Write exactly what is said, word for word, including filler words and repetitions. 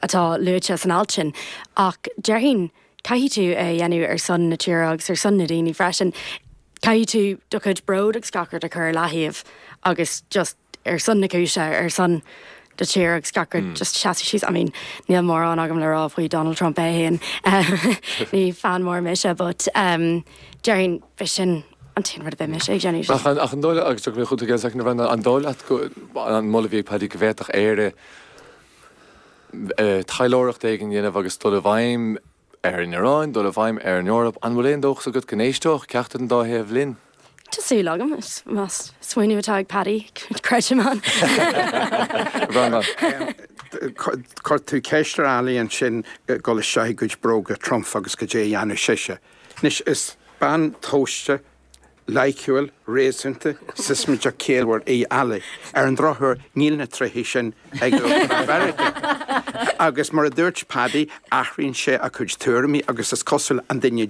atá luaite san alt sin ach déarfainn caithfidh tú é a dhéanamh ar son na tíre agus ar son na daoine freisin. Caithfidh tú do chuid bród agus gach rud a chur ar leataobh agus just ar son na cúise ar son do tír agus gach rud just seasamh síos. I mean, níl mórán agam le rá faoi Donald Trump é féin ní fan mór mise, but um, déarfainn b'shin an t-aon rud a bheadh mise ag déanamh. Ach an ach an dóigh agus mé chu an dóigh leat an moladh a bhí ag Paddy go bhféadfadh Éire taidhleoireacht éigin a dhéanamh agus dul i bhfeidhm ar an Iaráin, dul i bhfeidhm ar an Eoraip, an bhfuil aon dóchas agat go n-éisteodh ceachtar den dá thaobh linn? Tá súil agam más smaoineamh atá ag Paddy creidim ann. Chuir tú ceist ar Ali ansin dul isteach i gcuid bróga Trump agus cad é a dhéanfadh sise. Anois is bean tomhaiste, loighciúil, réasúnta, siosmaideach ciallmhar í Ali. Ar an drochuair níl na tréithe sin ag Mheiriceá. Agus mar a dúirt Paddy, athraíonn sé a chuid tuairimí agus is cosúil an duine